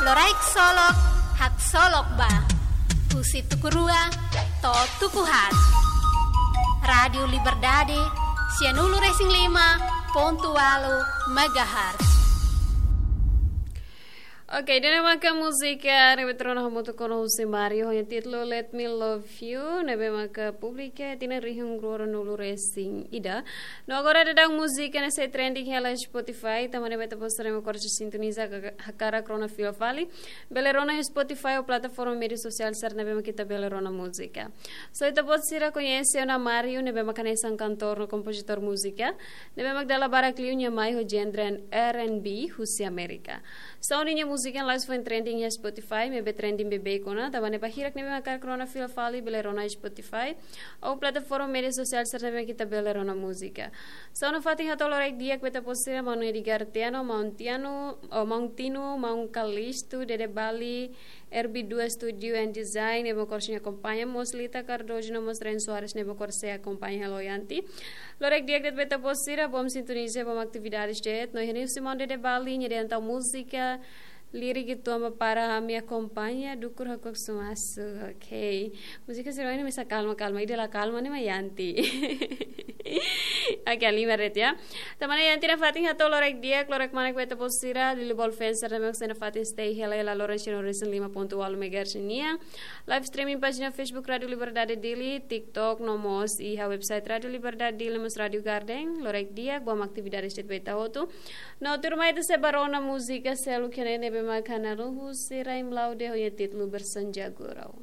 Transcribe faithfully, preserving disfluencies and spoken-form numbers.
Loraik Solok, haksolok ba. Husi tuku rua to'o tuku haat. Rádiu Liberdade, sianulu-resin-lima pontu ualu megahertz. Oke, ida-ne'e maka múzika ne'ebé rona hamutuk ona husi Mario, ho nia títulu Let Me Love You, ne'ebé maka publika iha tinan rihun rua ruanulu-resin-ida. No agora daudaun múzika ne'e sei trending hela Spotify, tanba ne'e ita-boot sira ne'ebé mak sintoniza ka-, hakarak rona fila fali, bele rona iha Spotify ou plataforma média sosiál sira ne'ebé mak ita bele rona múzika. So ita-boot sira koñese ona Mario, ne'ebé mak hanesan kantór no kompozitór múzika, ne'ebé mak dala barak liu nia mai ho genre R and B husi Amérika. So ninia múzika la'ós foin trending iha Spotify, maibé trending beibeik ona, tanba ne'e ba hirak ne'ebé mak hakarak rona fila fali, bele rona iha Spotify ou plataforma média sosiál sira ne'ebé mak ita bele rona múzika. So nafatin hato'o loraik di'ak ba ita-boot sira, maun Edgar Tiano, maun Tiano, oh, maun Tino, maun Kalisto, Dede Bali, R B dua Studio and Design, ne'ebé mak sei akompaña, mós Lita Cardoso, no mós Ren Soares, ne'ebé mak sei akompaña hela Yanti. Loraik di'ak de'it ba ita-boot sira, bom sintoniza, bom atividades de'it, no iha ne'e husi maun Dede Bali, nia dehan tan múzika, lirik ituan ba para ami akompaña, dukur hakuak sumasu, ok. Múzika sira-ne'e mesak kalma, kalma, ida la kalma ne'e mak Yanti. Oke, lima ret ya. Tanba ne'e Yanti nafatin hato'o loraik di'ak, loraik manek ba ita-boot sira, Lili Ball fans sira ne'ebé mak sei nafatin stay hela iha loron sianulu-resin-lima pontu ualu megahertz nian. Live streaming pájina Facebook Rádiu Liberdade Dili, TikTok, no mós iha website Rádiu Liberdade Dili, mós Rádiu Garden, loraik di'ak, bom atividades de'it ba ita hotu. No tuirmai ita sei ba rona múzika seluk iha ne'e ne'ebé mak hanaran husi Raim Laude ho nia títulu Bersanja Gurau.